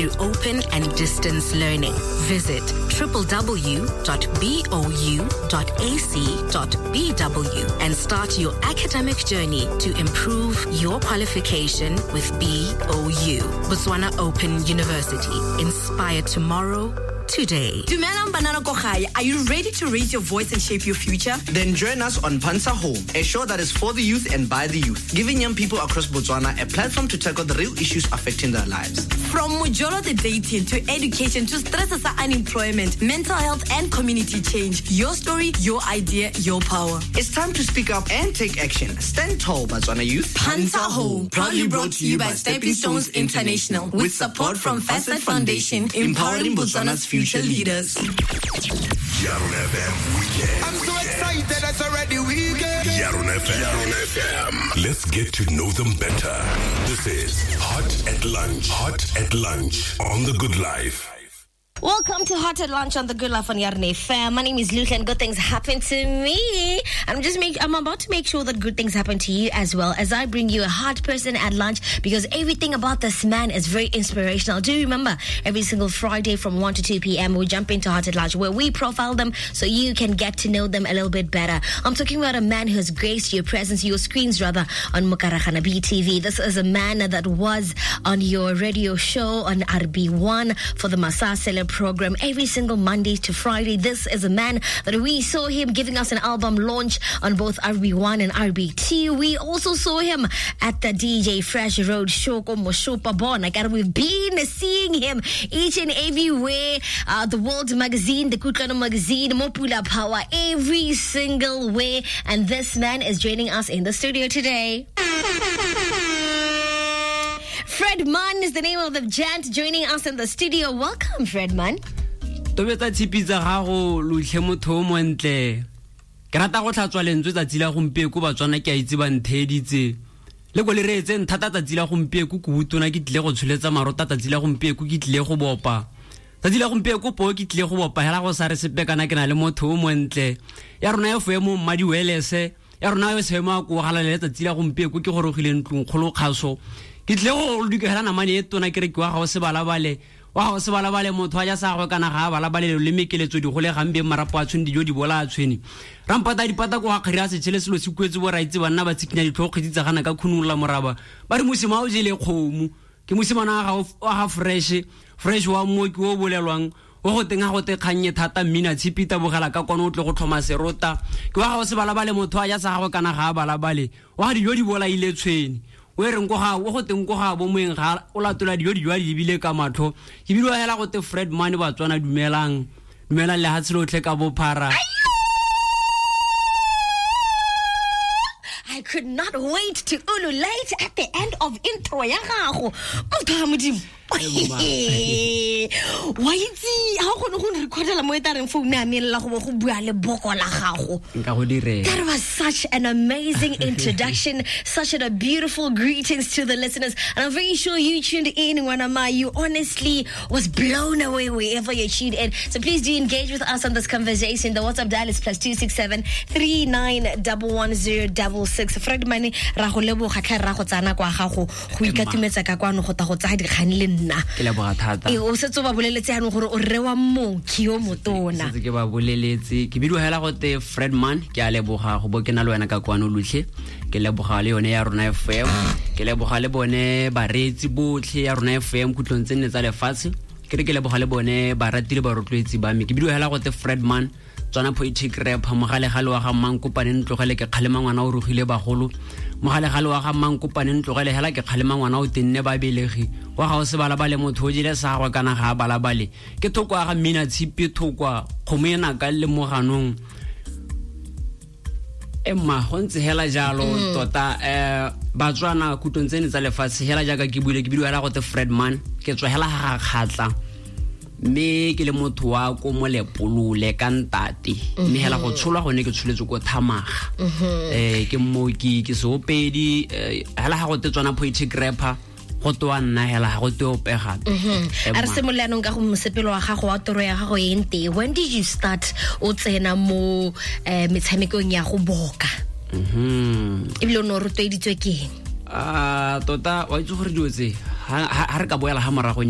through open and distance learning. Visit www.bou.ac.bw and start your academic journey to improve your qualification with BOU. Botswana Open University. Inspire tomorrow, today. Dumelang banana ko gae. Are you ready to raise your voice and shape your future? Then join us on Pansa Home, a show that is for the youth and by the youth, giving young people across Botswana a platform to tackle the real issues affecting their lives. From Mojolo the dating to education to stress unemployment, mental health and community change. Your story, your idea, your power. It's time to speak up and take action. Stand tall, Botswana youth. Pansa Home, proudly brought to you by Stepping Stones International with support from Facet Foundation, empowering Botswana's future leaders. Yarona FM Weekend. I'm so excited, it's already weekend. Yarona FM. Yarona FM. Let's get to know them better. This is Hot at Lunch. Hot at Lunch on The Good Life. Welcome to Hot at Lunch on the Good Life on Yarona FM. My name is Luke and good things happen to me. I'm about to make sure that good things happen to you as well as I bring you a hot person at lunch, because everything about this man is very inspirational. Do remember, every single Friday from 1 to 2 p.m. we jump into Hot at Lunch where we profile them so you can get to know them a little bit better. I'm talking about a man who has graced your presence, your screens rather, on Mokaragana BTV. This is a man that was on your radio show on RB1 for the Masasele program every single Monday to Friday. This is a man that we saw him giving us an album launch on both RB1 and RB2. We also saw him at the DJ Fresh Road Show. We've been seeing him each and everywhere. The World Magazine, the Kutlwano Magazine, Mopula Power, every single way. And this man is joining us in the studio today. Fred Mann is the name of the gent joining us in the studio. Welcome, Fred Mann. Tobetsa tshipi tsa gago lotlhe motho o montle. Ke rata go tlhatswa lentswe tsatsi la gompieko Batswana ke a itse ba ntheeditse. Le ko le reetse nthata tsatsi la gompieko ke botona ke tlile go tsholetsa marota tsatsi la gompieko ke tlile go bopa. Tsatsi la gompieko po ke tlile go bopa hela go sa re sepe kana ke na le motho o montle. Ya rona e foemo mmadi welese, ya rona e seemo ko galalele tsatsi la gompieko ke gorogile ntlong kgolo kgaso. Ke tle go dikela namane e tona ke re ke wa ga o se balabale wa ga o se balabale motho a ja sa gagwe kana ga a balabale le mekeletso di gole gambe marapo a tshwene dijo di bola a tshwene rampata dipata ko ga kgari a setšhele selo se kuetse bo raitse banna ba tshikinya ditlhogo kgwedi tsa gana ka khunolla moraba ba re mosima o jele kgomo ke mosimana wa ga fresh wa mmoki o bolelwang o go teng ga go te kgannye thata mmina tshipi tabogela ka kwana o tle go tlhoma serota ke wa ga o se balabale motho a ja sa gagwe kana ga a balabale wa ga dijo di bolaile tshwene o reng go ga o go teng go ga bo moeng ga o latola dijo dijo di lebile ka matlho ke bile hela go te Fred Mann Batswana dumelang dumelang le hatshe lotlhe ka bophara. I could not wait to ululate at the end of intro ya gago. Motho wa Modimo. Wa itse ha o kgone go recordela mo e tareng phone ya me lla go bo go bua le boko la gago. Nka go direla. That was such an amazing introduction, such a beautiful greetings to the listeners. And I'm very sure you tuned in, Ngwanama. You honestly was blown away wherever you tuned in. So please do engage with us on this conversation. The WhatsApp dial is +267 3911 066. Fred Mann ra go leboga tlhe ra go tsana kwa gago go ikatumetsa ka kwano go ta go tsaya dikgang le nna. Ke leboga thata. E o setse o ba boleletse yanong gore o rre wa mooki yo motona. Setse ke ba boleletse ke bidiwa hela go te Fred Mann ke a leboga go bo ke na le wena ka kwano lotlhe ke leboga le yone ya rona FM ke leboga le bone bareetsi botlhe ya rona FM kutlong tse nne tsa lefatshe ke re ke leboga le bone barati le barotloetsi ba me ke bidiwa hela go te Fred Mann tswana poetic rap mogalegale wa ga Mmankopane ntlogele ke kgalema ngwana o rogile bagolo mogalegale wa ga Mmankopane ntlogele hela ke kgalema ngwana o tenne ba belegi wa ga o se balabale motho o jele sa gagwe kana ga a balabale ke thoko ya ga mmina tshipi thokwa kgomo e naka le moganong emma go ntse hela jalo tota Batswana kutlong tsene tsa lefatshe hela jaaka ke buile ke bidiwa hela go te Fred Mann ke tswa hela ga kgatla mme ke le motho wa ko Molepolole ka ntate mme hela go tsholwa gone ke tsholetswe ko Thamaga ke mmoki ke seopedi hela ga go te tswana poetic rapper go toa nna hela ga go te opega. A re simolola yanong ka go mosepelo wa gago wa toro ya gago e nte. When did you start o tsena mo metshamekong ya go boka? Ebile o ne o rotloeditswe ke eng? Tota wa itse gore dilo tse ha re ka boela ha morago